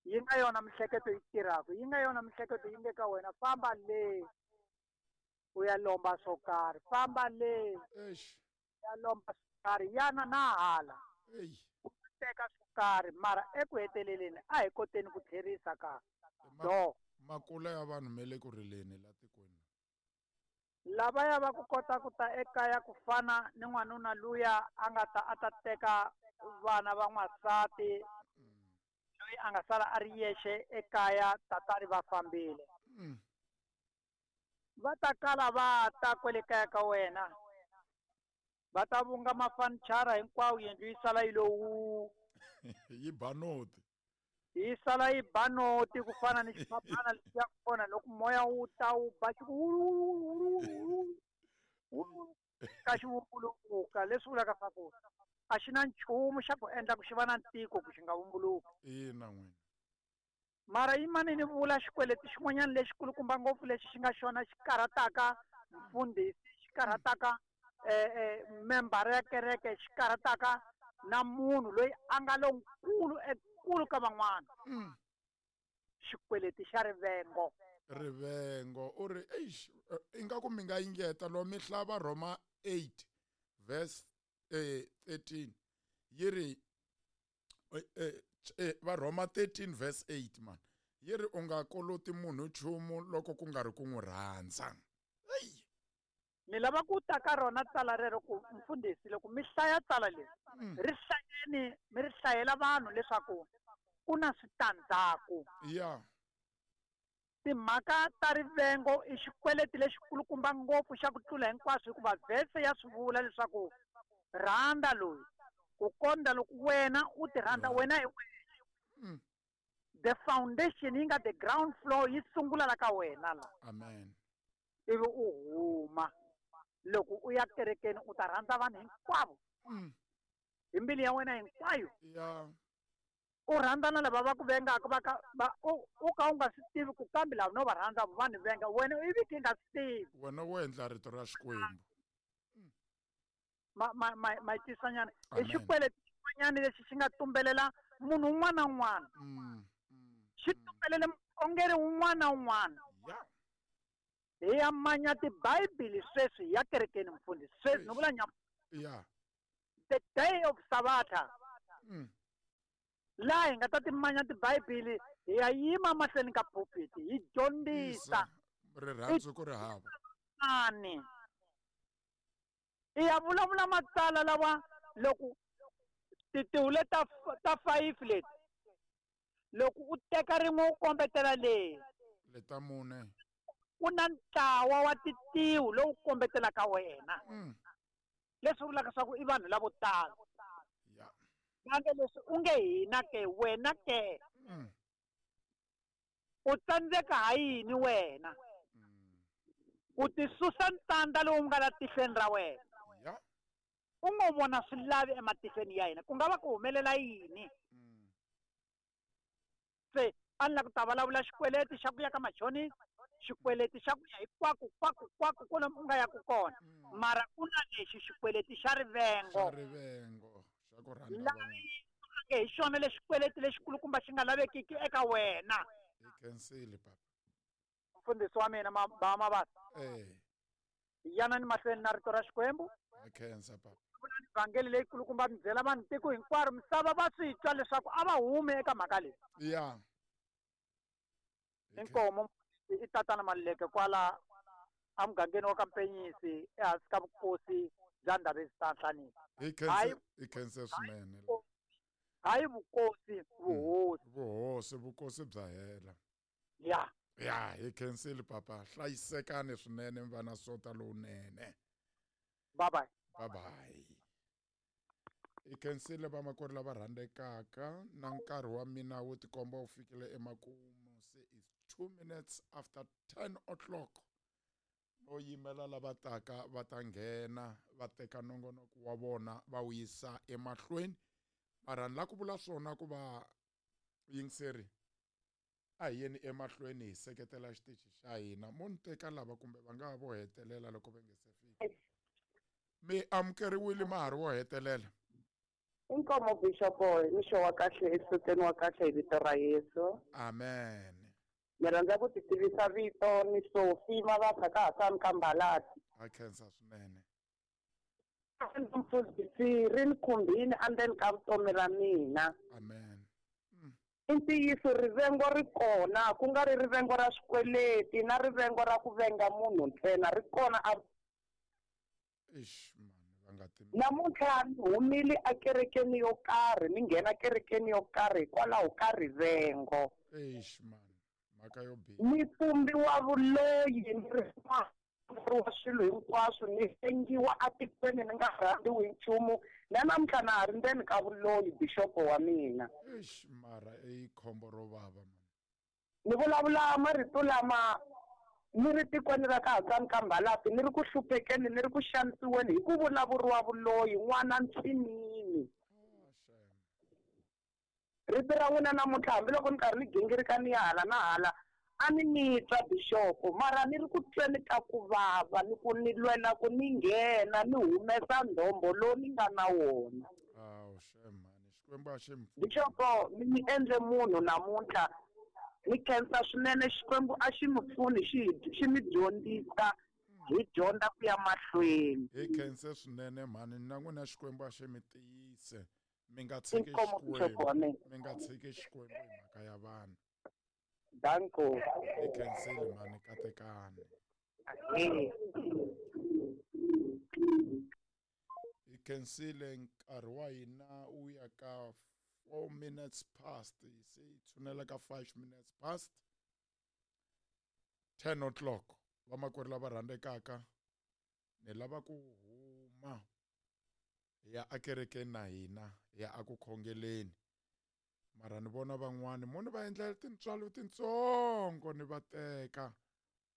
D: Yi nga yona mihleketo yi tirhaka, yi nga yona mihleketo yi nge ka wena famba le u ya lomba swo karhi, famba le
A: eish
D: ya lomba swo karhi, yana na hala.
A: Ei.
D: U teka swo karhi mara eku heteleleni a hi koteni ku tlherisa ka. Do.
A: Makula ya vanhu me le ku rileni la tikweni.
D: Lavaya va ku kota ku ta ekaya ku fana ni n'wanuna luya a nga ta a ta teka vana va n'wansati loyi a nga sala a ri yexe ekaya tatani va fambile. Va ta kala va ta kwale kaya ka wena. Va ta vunga mafanichara hinkwawo yindlu yi sala yi lo wu.
A: Yi ba noti.
D: Yi sala yi ba noti ku fana ni xiphaphana lexiya kona loko moya wu ta wu ba xi ku ka xi vumbuluka leswi vulaka swa ku a xi na nchumu xa ku endla ku xi va na ntiko ku xi nga vumbuluki.
A: Ina n'wina.
D: Mara yimani ni vula xikweleti xin'wanyana lexikulukumba ngopfu lexi xi nga xona xi karhataka mfundhisi, xi karhataka membara ya kereke, xi karhataka na munhu loyi a nga lonkulu ekulu ka van'wana. Xikweleti xa rivengo.
A: Rivengo u ri eish ingaku mi nga yingeta lo mi hlava Roma 8 verse 13 yi ri va Roma 13 verse 8 man yi ri u nga koloti munhu nchumu loko ku nga ri ku n'wi rhandza. Ei.
D: Ni lava ku ta ka rona tsala rero ku mfundhisi loko mi hlaya tsala leri ri hlayeni mi ri hlayela vanhu leswaku ku na switandzhaku.
A: Ya.
D: Timhaka ta rivengo i xikweleti lexikulukumba ngopfu xa ku tlula hinkwaswo hikuva vhese ya swi vula leswaku rhandza loyi ku kondza loko wena u ti rhandza wena hi wena. The foundation yi nga the ground floor yi sungula la ka wena la.
A: Amen.
D: Ivi u huma loko u ya kerekeni u ta rhandza vanhu hinkwavo. Hi mbilu ya wena hinkwayo.
A: Ya.
D: U rhandza na lava va ku vengaka va ka va u ka u nga swi tivi ku kambe lava no va rhandza va ni venga wena ivi ki nga swi tivi.
A: Wena wo endla rito ra Xikwembu.
D: Ma tisanyana. I xikweleti xin'wanyana lexi xi nga tumbelela munhu un'wana na un'wana. Xi tumbelele mukhongeri un'wana na un'wana.
F: Hi ya manya tibhayibhili sweswi ya kerekeni mfundhisi. Sweswi ni vula nyama.
A: Yeah.
F: The day of Sabbatha. Laha hi nga ta timanya tibhayibhili hi ya yima mahlweni ka pulpit hi dyondzisa.
A: Rirhandzu ku ri hava.
F: Ani. I ya vulavula matsala lawa loko titiwule ta 5 leti. Loko u teka rin'we u kombetela leyi.
A: Leta mune.
F: Ku na ntlawa wa titiwu lowu kombetelaka wena. Leswi vulaka swa ku i vanhu lavo tala.
A: Yeah.
F: Kambe leswi u nge hina ke wena ke. U tsandzeka ha yini wena? U tisusa ntanda lowu nga la tihlweni ra wena.
A: Yeah.
F: U ngo vona swilavi ematihlweni ya hina. Ku nga va ku humelela yini? Se a ni la ku ta vulavula xikweleti xa ku ya ka machonisi, xikweleti xa ku ya hinkwako kwako kwako kwalomu u nga ya ku kona. Mara ku na lexi xikweleti xa rivengo.
A: Xa rivengo, xa ku rhandza vanhu.
F: Nge hi xona lexi xikweleti lexikulukumba xi nga lavekiki eka wena.
A: Hi khensile papa.
F: Mfundhisi wa mina Mabasa. Yana ni mahlweni na rito ra Xikwembu.
A: Hi khensa papa.
F: Vhangeli leyikulukumba mi byela vanhu tiko hinkwaro misava va swi twa leswaku a va humi eka mhaka leyi.
A: Yeah.
F: Inkomo i tatana Maluleke kwala emugangeni wa ka Mpenyisi ehansi ka vukosi bya Ndabezitha Nhlanisi.
A: Hi khense swinene.
F: Hayi vukosi, vuhosi.
A: Vuhosi, vukosi bya hela.
F: Yeah.
A: Yeah, hi khensile papa. Hlayisekani swinene mi va na sota lowunene.
F: Bye bye.
A: Bye bye. Hi khensile vamakwerhu lava rhandzekaka na nkarhi wa mina wo tikomba wu fikile emakumu. Se it's 2 minutes after 10 o'clock. No yimela lava taka va ta nghena va teka nongonoko wa vona va wu yisa emahlweni. Mara ni la ku vula swona ku va yingiseri a hi yeni emahlweni hi seketela xitichi xa hina. Mo ni teka lava kumbe va nga vo hetelela loko va nge se fika. Mi amukeriwile ma ha ri wo hetelela.
G: Inkomo Bishop, mixo wa kahle esoteni wa kahle hi vito ra Yesu.
A: Amen.
G: Ni rhandza ku ti tivisa vito ni Sophie Mabasa ka Hasani ka Mbalati.
A: A khensa swinene.
G: Mfundhisi ri ni khumbini endzeni ka vutomi ra mina.
A: Amen.
G: I ntiyiso rivengo ri kona, ku nga ri rivengo ra swikweleti na rivengo ra ku venga munhu ntsena ri kona a.
A: Eish man, va nga ti.
G: Namuntlha ni humile ekerekeni yo karhi, ni nghena kerekeni yo karhi hikwalaho ka rivengo.
A: Eish man, mhaka yo biha.
G: Ni pfumbiwa vuloyi ni ri wa swilo hinkwaswo, ni sengiwa atikweni ni nga rhandziwi nchumu. Na namuntlha na ha ri ndzeni ka vuloyi bixopo wa mina.
A: Eish mara i khombo ro vava man.
G: Ni vulavula marito lama ni ri tikweni ra ka Hasani ka Mbalati, ni ri ku hluphekeni, ni ri ku xanisiweni hi ku vulavuriwa vuloyi n'wana ntsinini. Rito ra n'wina namuntlha hambiloko ni karhi ni gingirika ni ya hala na hala a ni ni twa bixopo, mara ni ri ku tweni ka ku vava ni ku ni lwela ku ni nghena ni humesa ndombo lowu ni nga na wona.
A: Awu shame mani, Xikwembu a xi mi pfuni.
G: Bixopo mi ni endle munhu namuntlha. Ni khensa swinene Xikwembu a xi mi pfuni xi mi dyondzisa hi dyondza ku ya mahlweni.
A: Hi khense swinene mhani, na n'wina Xikwembu a xi mi tiyise. Mi nga tshiki Xikwembu, mi nga tshiki Xikwembu hi mhaka ya vanhu.
G: Danko.
A: Hi khensile mhani, katekani. Hi khensile nkarhi wa hina wu ya ka 4 minutes past, se hi tshunela ka 5 minutes past 10 o'clock. Vamakwerhu lava rhandzekaka, ni lava ku huma hi ya ekerekeni na hina, hi ya eku khongeleni. Mara ni vona van'wani mo ni va endlela tintswalo tintsongo ni va teka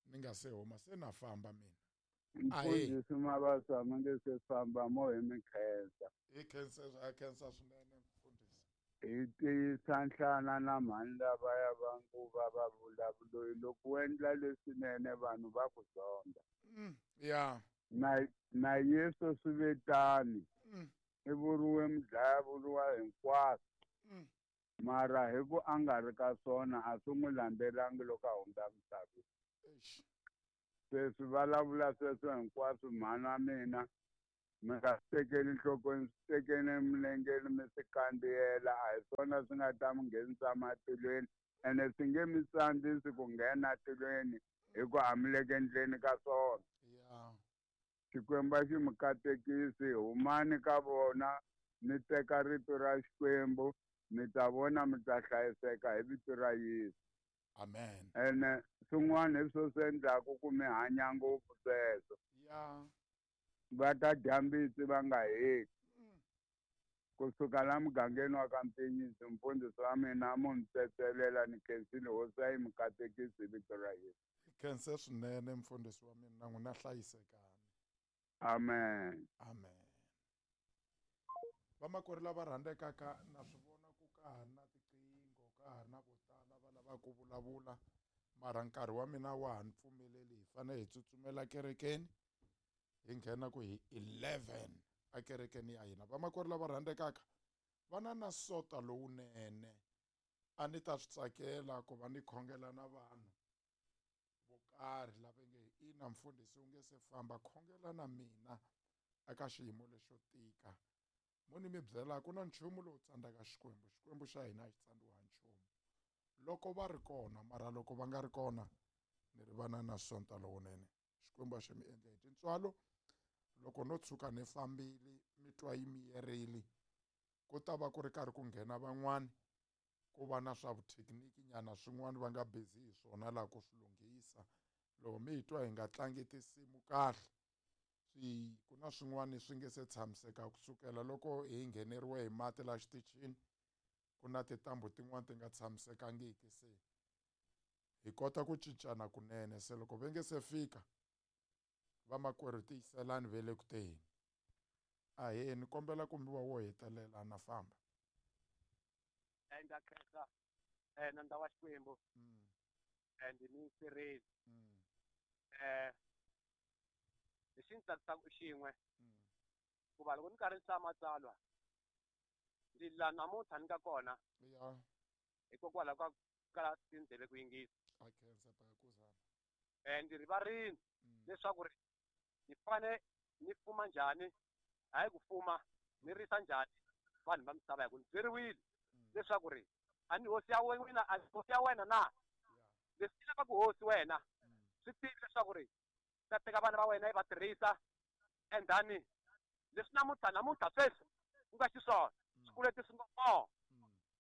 A: ni nga se huma, se na famba mina.
H: Mfundhisi Mabasa mi nge se famba mo hi mi khensa.
A: Hi khensa, a khensa swinene mfundhisi.
H: Hi tiyisa nhlana na mhani lavaya va nguva va vulavuloyi loko u endla leswinene vanhu va ku zonda.
A: Yeah.
H: Na Yesu swi ve tani. I vuriwe mudlaya vuriwa hinkwaswo. Mara hi ku a nga ri ka swona a swi n'wi landzelangi loko a hundza misaveni. Se swi vulavula sweswo hinkwaswo mhana mina mi nga swi tekeli nhlokweni, swi tekeni emilengeni mi swi kandziyela, a hi swona swi nga ta mi nghenisa matilweni ene swi nge mi tsandzisi ku nghena tilweni hi ku a mi le ku endleni ka swona. Xikwembu a xi mi katekisi, humani ka vona mi teka rito ra Xikwembu, mi ta vona mi ta hlayiseka hi vito ra Yesu.
A: Amen.
H: Ene swin'wana hi swo swi endlaku ku mi hanya ngopfu sweswo. Va ta dya mbitsi va nga heti. Kusuka la mugangeni wa ka Mpinyisi, mfundhisi wa mina mo ni tsetselela ni khensile hosi a yi mi katekisi hi vito ra Yesu.
A: Hi khense swinene mfundhisi wa mina, na n'wina hlayisekani.
H: Amen.
A: Amen. Vamakwerhu lava rhandzekaka, na swi vona ku ka ha ri na tiqingho, ka ha ri na vo tala va lavaka ku vulavula, mara nkarhi wa mina wa ha ni pfumeleli, hi fanele hi tsutsumela kerekeni hi nghena ku hi 11 ekerekeni ya hina. Vamakwerhu lava rhandzekaka, va na na sota lowunene, a ni ta swi tsakela ku va ni khongela na vanhu vo karhi lava nge ina mfundhisi u nge se famba, khongela na mina eka xiyimo lexo tika. Mo ni mi byela ku na nchumu lowu tsandzaka Xikwembu, Xikwembu xa hina a xi tsandziwa nchumu loko va ri kona, mara loko va nga ri kona ni ri vana na sonta lowunene. Xikwembu a xi mi endle hi tintswalo. Loko no tshuka ni fambile mi twa yi miyerile, ku ta va ku ri karhi ku nghena van'wani, ku va na swa vuthekiniki nyana swin'wana va nga busy hi swona laha ku swi lunghisa. Loko mi hi twa hi nga tlangi tinsimu kahle, swi ku na swin'wana swi nge se tshamiseka kusukela loko hi ngheneriwe hi mati la xitichini, ku na tintambu tin'wana ti nga tshamisekangiki, se hi kota ku cincana kunene. Se loko va nge se fika vamakwerhu tiyiselani ve le ku teni. Ahee, ni kombela ku mi va wo hetelela na famba.
I: Ndza khensa nandza wa Xikwembu and ni sirheli. Lexi ni tsakisaka i xin'we, hikuva loko ni karhi ni hlaya matsalwa ndzi la namuntlha ni nga kona hikokwalaho ka kala tindleve ku yingisa.
A: A khensa Bayakuzana.
I: Ndzi rivarini leswaku ri ni fane ni fuma njhani, hayi ku fuma ni risa njhani vanhu va misava, hi ku ni byeriwile leswaku ri a ni hosi ya wena, a ni hosi ya wena na leswi ni lavaka hosi wena swi tivi leswaku ri ta teka vana va wena yi va tirhisa, and then leswi namuntlha sweswi ku nga xiswona swikweleti swi nga kona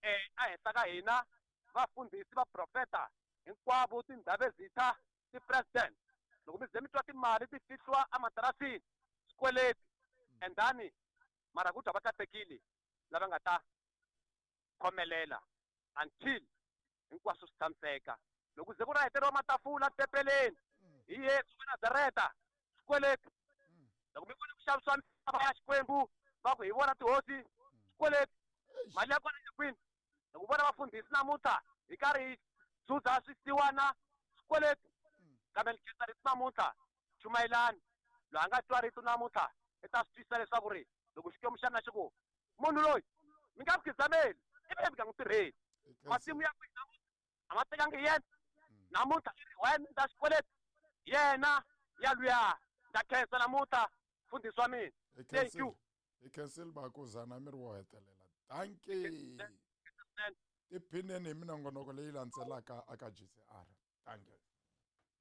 I: ehenhla ka hina vafundhisi, vaprofeta hinkwavo, tindhavezitha, ti-president, loko mi ze mi twa timali ti fihliwa ematirasini, swikweleti, and then mara ku twa va katekile lava nga ta khomelela until hinkwaswo swi tshamiseka. Loko ze ku ra heteriwa matafula tempeleni hi Yesu wa Nazareta, swikweleti. Loko mi vona ku xavisiwa misava ya Xikwembu va ku hi vona tihosi, swikweleti. Mali ya kona ya kwini? Loko vona vafundhisi namuntlha hi karhi hi dzudza swisiwana, swikweleti. Kambe ni khensa rito namuntlha, chumayelani. Loyi a nga twa rito namuntlha i ta swi twisisa leswaku ri loko Xikwembu xa mina xi ku munhu loyi mi nga khidzameli, ivi mi nga n'wi tirheli. Masimu ya kwini namuntlha a ma tekangi yena, namuntlha i ri wena ndza xikweleti yena ya luya. Ndza khensa namuntlha mfundhisi wa mina. Thank you.
A: Hi khensile Bakuzana, mi ri wo hetelela. Dankie. Tiphineni hi minongonoko leyi landzelaka aka GCR. Dankie.